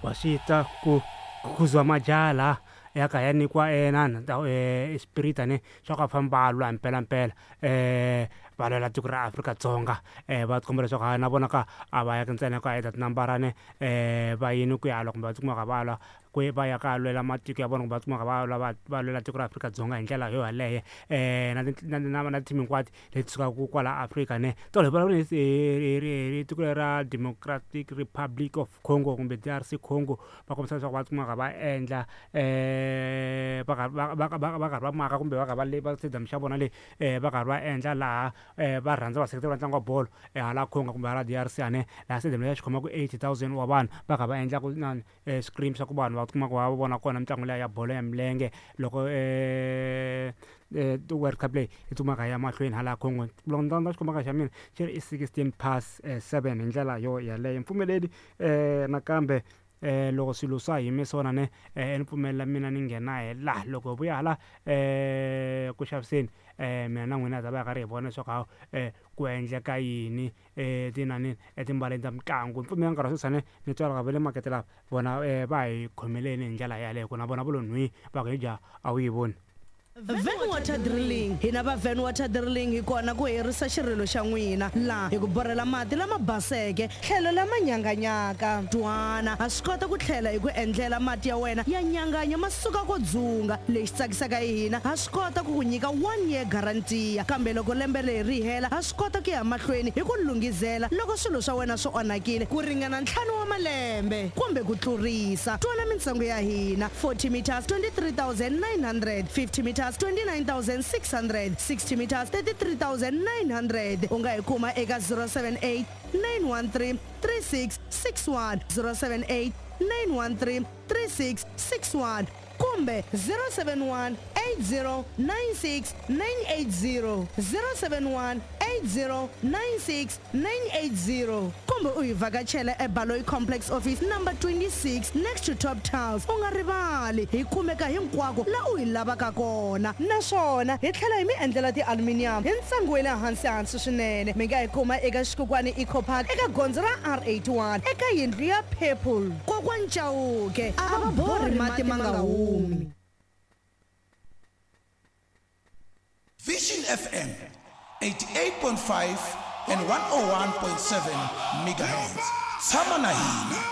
Wa swi twa ku khuzuwa majaha laha ya ka ya nyikiwa inana espirita ne swa ku va famba va lwa mpelampela va lwela tiko ra Afrika-Dzonga va tikomba leswaku hayi na vona ka a va yaki ntsena ku ya tinambara ne va yini ku ya lwa kumbe va tikuma va kha va lwa ku va ya ka lwela matiko ya vona kumbe va tikuma va kha va lwa va va lwela tiko ra Afrika-Dzonga hi ndlela yo yaleyo na na na na team hinkwato leti sukaka kwala Afrika ne tolo hi vulavula hi tiko ra Democratic Republic of Congo kumbe D_R_C Congo va kombisa leswaku va tikuma va kha va endla va karhi va va va va karhi va maka kumbe va karhi va le va stadium xa vona le va karhi va endla laha va rhandza vaseketeri va ntlangu wa bolo hala Congo kumbe hala D_R_C ane laha stadium leyi xi khomaka 80,000 wa vanhu va kha va endla ku inani screen swa ku vanhu va tikuma va vona kona mitlangu liya ya bolo ya milenge loko World Cup leyi yi tsumaka ya mahlweni hala Congo loko ni landza xikomba xa mina xi ri i 16 past 7 hi ndlela yo yaleyo mpfumeleli nakambe loko swilo swa yime swona ne ni pfumelela mina ni nghena hi laha loko hi vuya hala ku xaviseni mina na n'wina hi ta va hi karhi hi vona leswaku hawu ku endleka yini tinani etimbaleni ta mitlangu mpfumelela nkarhi wa sweswi ni ni twa va le makete lava vona va hi khomeleni hi ndlela yaleyo ku na vona va lo nhwi va ku hi dya a wu yi voni. Van Water Drilling. Hina va Van Water Drilling hi kona ku herisa xirilo xa n'wina laha hi ku borhela mati lama baseke tlhelo lama nyanganyaka. Twana, ha swi kota ku tlhela hi ku endlela mati ya wena ya nyanganya ma suka ko dzunga. Lexi tsakisaka hi hina, ha swi kota ku ku nyika one year guarantee kambe loko lembe leri ri hela ha swi kota ku ya mahlweni hi ku lunghizela loko swilo swa wena swi onhakile ku ringana ntlhanu wa malembe kumbe ku tlurisa. Twana mintsengo ya hina, 40 meters 23,900, 50 meters 29,600, 60 meters 33,900. U nga hi kuma eka 078 913 3661, 078 913 3661 kumbe 071 8096 980, 071 8096 980 kumbe u hi vhakachela eBaloyi Complex Office number 26 next to Top Tiles. U nga rivali, hi kumeka hinkwako la u hi lavaka kona naswona hi tlhela hi mi endlela ti-aluminium hi ntsengo wa le hansi hansi swinene. Mi nga hi kuma eka Xikukwani Eco Park eka gondzo ra R81 eka yindlu ya Purple. Kokwani Chauke a va borhi mati ma nga humi. Vision FM 88.5 and 101.7 megahertz. Tshama na hina.